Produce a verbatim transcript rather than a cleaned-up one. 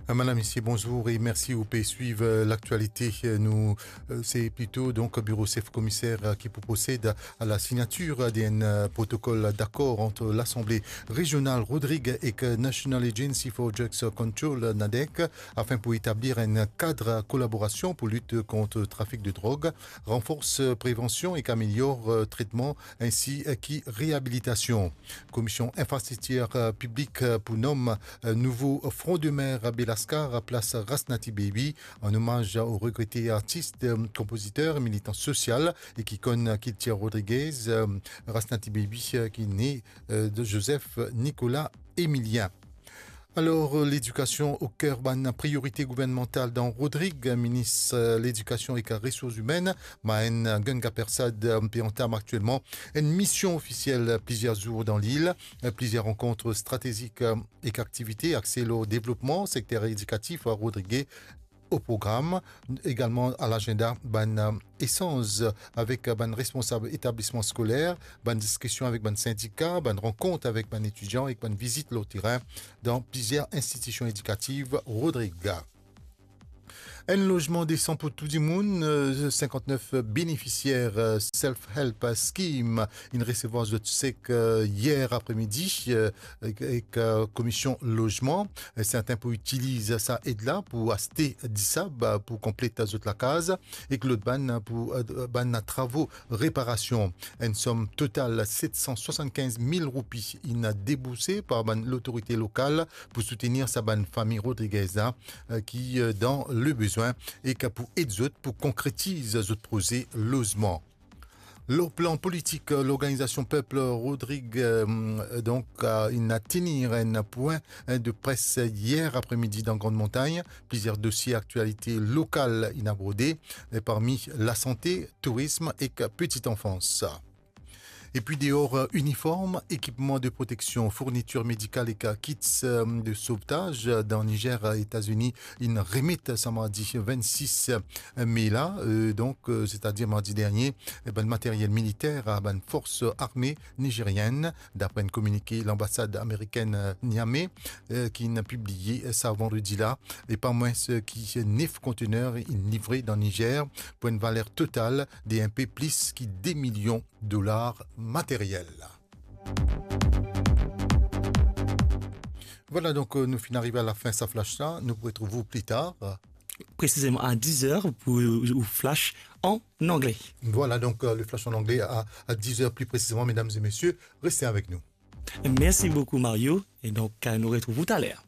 Madame, Messieurs, bonjour et merci. Ou pe swiv, euh, laktialite. Euh, nou, euh, se plito, donk, biro sef komiser, euh, ki pou prosed a la signatir de enn, euh, protokol dakor ant Lasanble Rezional Rodrig ek National Agency for Drugs Control, NADEC, afin pou etablir enn kad kolaborasion pou lit kont trafik de drog, ranfors prevansion ek amelior, euh, tretman ensi, euh, ki reabilitasion. Komision Infrastriktir, euh, Piblik, euh, pou nom, euh, nouvo frondemer Belascar, plas Rasnaty Baby, an omaz o regrete artis, euh, konpoziter, militan sosial e ki konn kiltir Rodriguez, euh, Rasnaty Baby, euh, ki ne, euh, de Joseph Nicolas Emilien. Alor, euh, ledikasion o ker bann priorite gouvernmantal dan Rodrig, minis, euh, ledikasion ek resours imenn, Mahen Ganga Persad, euh, pe antam aktielman enn mision ofisiel plizier zour dan lil, euh, plizier rankont stratezik, euh, ek aktivite axe lor devlopman sekter edikatif a Rodrig o program, egalman a lagenda bann, euh, esanz avek bann responsab etablisman skoler, bann diskision avek bann sindika, bann rankont avek bann etidian ek bann vizit lor terin dan plizier institision edikatif Rodrig. Enn lozman desan pou tou dimoun, euh, sinkant-nef benefisier, euh, Self Help Scheme inn resevwar zot sek, euh, yer apremidi, euh, ek, ek, euh, Komision Lozman. Euh, serten pou itiliz sa ed la pou aste disab, euh, pou konplet zot lakaz, ek lot bann pou, euh, bann travo reparasion. Enn som total set san swasannkinz mil roupi inn debourse par bann lotorite lokal pou soutenir sa bann fami Rodriguez la, euh, ki, euh, dan lebezwin, ek pou ed zot pou konkretiz zot proze lozman. Lor plan politik, lorganizasion Pep Rodrig, euh, donk, euh, inn tenir enn pwin, euh, de pres yer apremidi dan Grand Montagne. Plizier dosie aktialite lokal inn aborde, euh, parmi lasante, tourism ek petite enfance. Epi deor, euh, iniform, ekipman de proteksion, fournitir medikal ek, euh, kits, euh, de sovtaz, euh, dan Nizer, euh, Etazini, inn remet sa mardi vennsis me la, euh, donk, euh, setadir mardi dernie, eh, bann materiel militer a bann fors arme nizerienn, dapre enn kominike lanbasad amerikenn, euh, Niamey, euh, ki inn pibliye sa vandredi la, e pa mwins ki nef kontener inn livre dan Nizer pou enn valer total de inpe plis ki de milion dolar materiel. Vwala, donk, euh, nou finn arive a lafin sa flash la. Nou pou retrouv ou pli tar. Presizeman a diz er pou ou flash an angle. Vwala, donk, euh, le flash an angle a, a diz er pli presizeman, medam e mesie, reste avek nou. Mersi boukou, Mario, e donk, euh, nou retrouv ou taler.